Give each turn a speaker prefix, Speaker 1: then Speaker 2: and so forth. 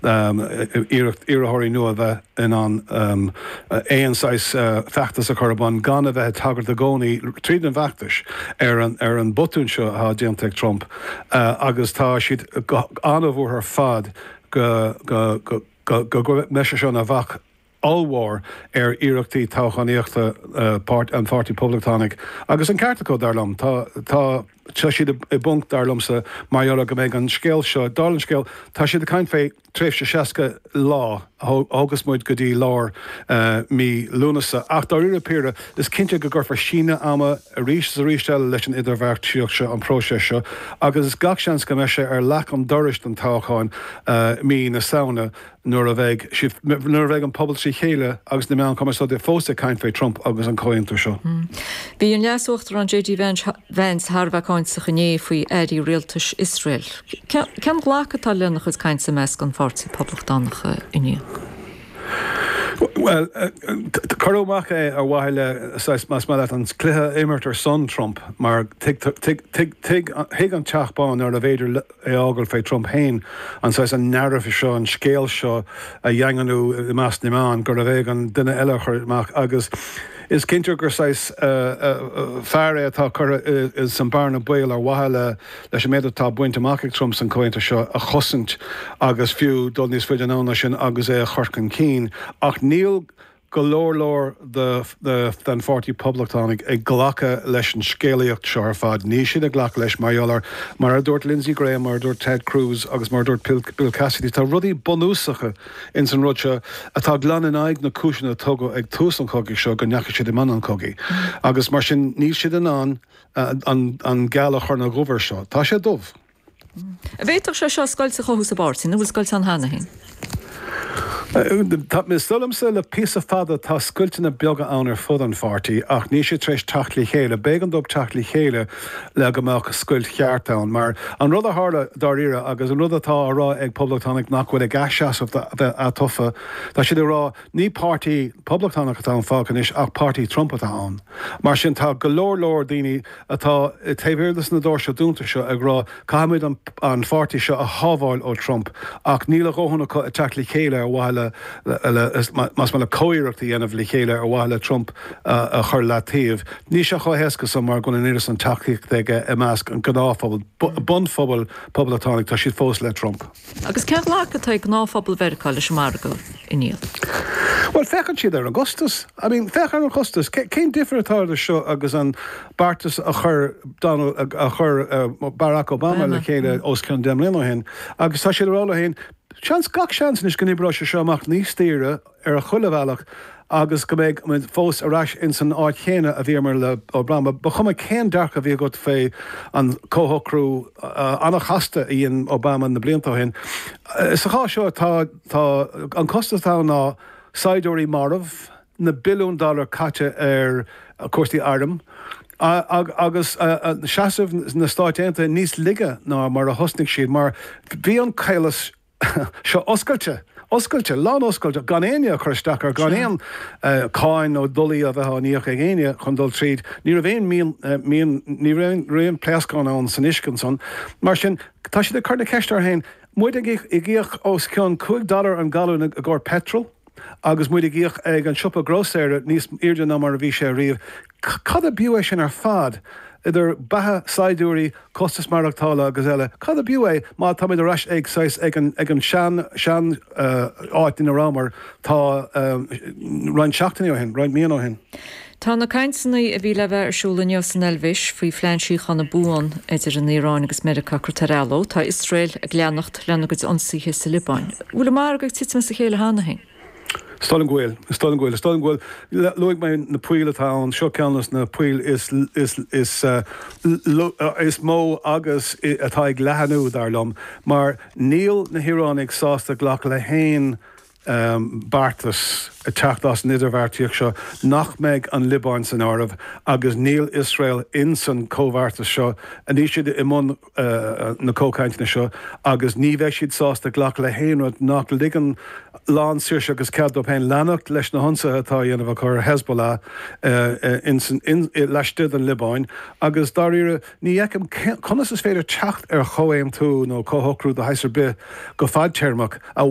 Speaker 1: Iarracht iarrthóirí nua a bheith in ann aon saghas feachtas a chur ar bun gan a bheith ag tagairt i gcónaí tríd an bhfeachtas ar an botún seo atá déanta ag Trump agus tá siad an-bhuartha ar fad go mbeidh sé seo ina bhac ollmhór ar iarrachtaí toghchánaíochta an Pháirtí Poblachtánaigh agus an ceart acu, dar liom. Tá tá tá siad i bponc, dar liomsa, mar gheall ar go mbeidh an scéal seo, dála an scéil, tá siad ag caint fé tréimhse 60 lá a thógas muid go dtí lár mí Lúnasa. Ach dáiríre píre, is cinnte go gcuirfear síneadh ama arís is arís eile leis an idirbheartaíocht seo, an próiseas seo, agus is gach seans go mbeidh sé ar leac an dorais don toghchán mí na Samhna. nuair a bheidh siad, nuair a bheidh an pobal trí chéile agus na meáin chumarsáide fós ag caint fé Trump agus an comhaontú seo.
Speaker 2: Bhí an Leas-Uachtarán JD Vance thar a bheith cáinteach inné faoi airí rialtais Iosrael. Cén glacadh atá lena chuid cainte i measc an Pháirtí Poblachtánach inniu?
Speaker 1: Bhuel, cuireadh amach é ar mhaithe le, saghas, más maith leat, an cluiche a imirt ar son Trump mar thuig an Teach Bán nárbh fhéidir é a fhágáil fé Trump féin, an saghas, an narrative seo, an scéal seo a dhaingniú i measc na meán, gurbh éigean duine eile a chur amach agus is cinnte gur saghas fear é atá curtha san bearna baoil ar mhaithe le leis an méid atá bainte amach ag Trump san comhaontú seo a chosaint agus fiú dul níos faide anonn ná sin agus é a chur chun cinn ach níl go leor leor den Pháirtí Poblachtánaigh ag glacadh leis an scéalaíocht seo ar fad. Níl siad ag glacadh leis mar gheall ar, mar a dúirt Lindsey Graham, mar a dúirt Ted Cruz agus mar a dúirt Bill Cassidy, tá rudaí bunúsacha ins an rud seo atá glan in aghaidh na cúiseanna a tugadh ag tús an chogaidh seo go ndeachaigh siad i mbun an chogaidh. Agus mar sin níl siad in ann an geal a chur ina dhubh air seo. Tá sé dubh.
Speaker 2: An bhféadfadh sé seo scoilt a chothú sa bpáirtí, nó an bhfuil scoilt ann cheana féin?
Speaker 1: Is dóigh liomsa le píosa fada tá scoilteanna beaga ann ar fud an pháirtí ach níl siad tar éis teacht le chéile. B'éigean dóibh teacht le chéile le go mbeadh scoilt cheart ann. Mar an rud a tharla dáiríre agus an rud atá á rá ag poblachtánaigh nach bhfuil ag seasamh a bheith atofa, tá siad ag rá ní páirtí poblachtánach atá ann fágtha anois ach páirtí Trump atá ann. Mar sin tá go leor leor daoine atá taobh thiar de na doirse dúnta seo ag rá caithfimid an pháirtí seo a shábháil ó Trump ach níl a dhóthain acu ag teacht le chéile ar mhaithe le, más maith leat, comhiarracht a dhéanamh le chéile ar mhaithe le Trump a chur leataobh. Níl sé chomh héasca san mar go bhfuil an oiread san tacaíochta aige i measc an ghnáthphobail, bunphobal poblachtánaigh, tá siad fós le Trump.
Speaker 2: Agus cén ghlacadh atá ag gnáthphobal Mheiriceá leis an margadh, a Niall?
Speaker 1: Bhuel, féachann siad ar an gcostas. I mean, féach ar an chostas. Cén difear atá idir seo agus an beartas a chuir Donald, a chuir Barack Obama le chéile os cionn 10 mbliana ó shin? Agus tá siad ag rá leo féin, seans, gach seans anois go n-oibreoidh sé seo amach níos daoire, ar chuile bhealach agus go mbeidh muid fós ar ais ins an áit chéanna a bhíomar le Obama. Ba chuma cén dearcadh a bhí agat fé an comhshocrú an-chasta a dhein Obama na blianta ó shin. Sa chás seo tá tá an costas atá ann ná saighdiúirí marbh, na billiúin dollar caite ar chúrsaí airm agus seasamh na Stáit Aontaithe níos laige ná mar a thosnaigh siad mar bhí an caolas seo oscailte, oscailte, lán-oscailte, gan éinne ag cur isteach air, gan aon cáin nó dolaí a bheith á n-íoc ag éinne chun dul tríd. Ní raibh aon mian, mian, ní raibh aon pléascán ann san uisce ansan. Mar sin, tá siad ag cur na ceiste orthu féin, muid ag íoc os cionn 5 dollar an galún i gcomhair petrol agus muid ag íoc ag an siopa grósaera níos airde ná mar a bhí sé riamh, Cad ab fhiú é sin ar fad, idir beatha saighdiúirí, costas maireachtála agus eile, cad ab fhiú é má táimid ar ais ag saghas ag an ag an sean sean áit ina rabhamar tá roinnt seachtainí ó shin, roinnt míonna ó shin?
Speaker 2: Tá na cainteanna a bhí le bheith ar siúl inniu san Eilvéis faoi phlean síochána buan idir an Iaráin agus Meiriceá curtha ar athló. Tá Iosrael ag leanacht lena gcuid ionsaithe sa Liobáin. Bhfuil an margadh ag titim as a chéile cheana féin?
Speaker 1: Is dóigh liom go bhfuil. Is dóigh liom go bhfuil. Is dóigh liom go bhfuil. Luaigh mé na poill atá ann. Seo ceann de na poill is, is, is, is mó agus atá ag leathnú, dar liom, mar níl na hIoránaigh sásta glacadh le haon beartas ag teacht as an idirbheartaíocht seo nach mbeidh an Liobáin san áireamh agus níl Iosrael insan chomhbheartas seo. Níl siad i mbun. na comhchainteanna seo agus ní bheidh siad sásta glacadh le haon rud nach ligeann lán saoirse agus cead dóibh féin leanacht leis na hionsaithe atá á dhéanamh acu ar Hezbollah laistigh den Liobáin agus dáiríre ní fheicim conas is féidir teacht ar chomhaontú nó comhshocrú de shaghas ar bith go fadtéarmach a.